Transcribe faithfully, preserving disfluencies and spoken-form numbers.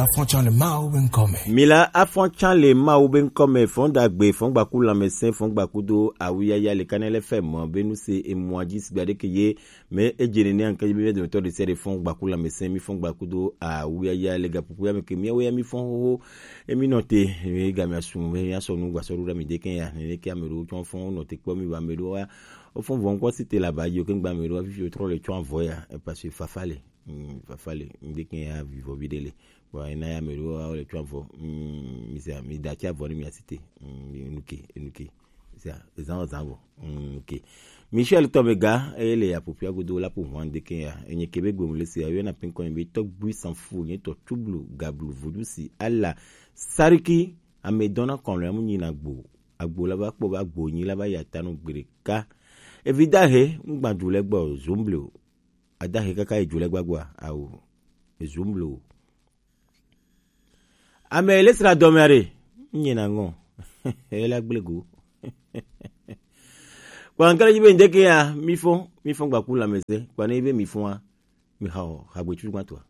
Afɔtsan le Mawu be ŋkɔ me. Mila afɔtsan le Mawu be ŋkɔ me, fɔn dagbe, fɔn gbaku lãmesẽ, fɔn gbakudo awuyaya le Kanɛlɛ fɛ mɔ be nu se emua dzi sigba ɖeke ye me edze nene anke be mia dometɔ ɖe sia ɖe fɔn gbaku lãmesẽ, mi fɔn gbakudo awuyaya le gaƒoƒo ya me ke miawo ya mi fɔn xoxo. Emi nɔ te, emi ga mia su, emi asɔ nu gbasɔ ɖo ɖa mi ɖeke ya, nene ke ame ɖewo tsɔ fɔn nɔ te kpɔ mi va ame ɖewo wa. Wo fɔn vɔ ŋkɔ si te la ba yi o ke ŋgba ame ɖewo fifi wo trɔ le tsɔ avɔ ya, e parce que fafa le. Mm, fafa le, ŋdeke ya vivɔ vi ɖe le. Bon, ena ya me ɖo, wo le tsɔ avɔ. Mm, mi sia, mi da tsi avɔ ne mi asite. Mm, enuke, enuke. Sia, zan zan vɔ. Mm, ok. Michel Tomega, eye le apopia godo la pour moi ŋdeke ya. Enye kebe gbemu le sia, yo na pinkɔ be tɔgbui sanfu, nye tɔ tublu, gablu, vodusi, ala, sariki, ame dɔna kɔn le amu nyina gbo. Agbo la va kpɔ va gbo nyi la va ya tanu gbeɖeka. Evi dahe, ŋgbadu le gbɔ, zomble o. Adahe kaka edzo le gbagba awo. Ezo mble o. Ame le sra dɔme are. Nye na ŋɔ. Ela gble go. Kwa nkala jibe ndeke ya, mi fɔ, mi fɔ gbaku lãmesẽ. Kwa ne be mi fɔ a, mi ha o, ha gbe tutu gba toa.